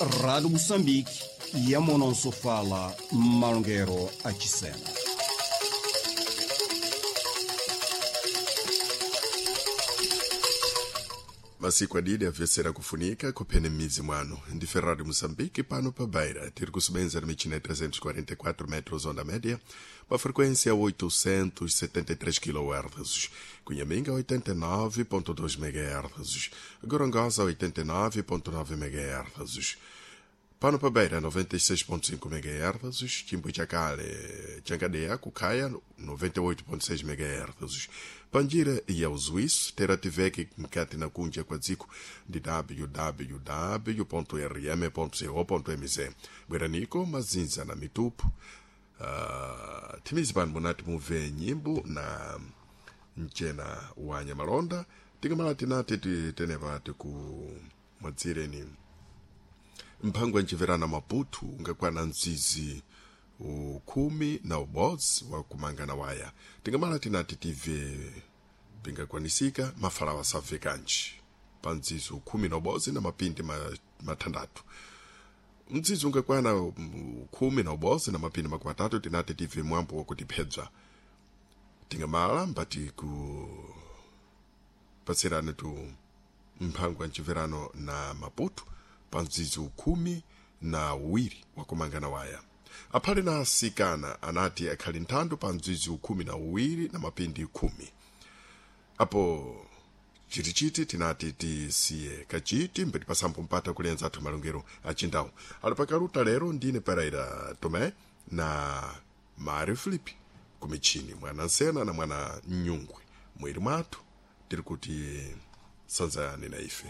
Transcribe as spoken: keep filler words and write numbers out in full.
Rádio Moçambique, Yamonosofala, Malongero Achisena. Masiku adidi avesera kufunika kuphene m'midzi mwanu ndi Ferrari Moçambique pano pa Beira tiri kusubenza na michina ya trezentos e quarenta e quatro metros onda média pa frequência oitocentos e setenta e três quilohertz, Cunhaminga oitenta e nove ponto dois megahertz, Gorongosa oitenta e nove ponto nove megahertz, pano pa Beira noventa e seis ponto cinco megahertz, Chimbuchakale Changadeya Kukaya noventa e oito ponto seis megahertz, Panjira e Auzuíço terá tiveke mkati na kunja kwa dziko ndi w w w ponto r m ponto co ponto m z. Bweraniko mazinza na mitupu. uh, thimizi pano munati mumve nyimbo na mchena wa nyamalonda tikamala tinati tenepa tiku mwadzireni mphango anchiverana Maputo ungakwana mzizi ukhumi na ubodzi wakumangana waya. Tingamala tinati tive pingakwanisika mafalawa sabve kanji pa mzizi ukhumi na ubodzi na mapindi mathandatu. Mzizi ungakwana khumi na ubodzi na mapindi makumi atatu tinati tive mwambo wakutiphedza. Tingamala mbati kupatsirani tu mphango anchiverano na Maputo pa mzizi ukhumi na uwiri wakumangana waya. Aphale na asikana anati akhali nthando pa mzizi ukhumi na uwiri na mapindi khumi. Apo chitichiti tinati tisiye kachiti mbeti pasambo mpata kulenza athu malongero achindawo ali pakaluta. Lero ndine Pereira Tomé na Mário Filipe kumichini, mwana nsena na mwana nyungwe mwiri mwathu tiri kuti sanzani na ife.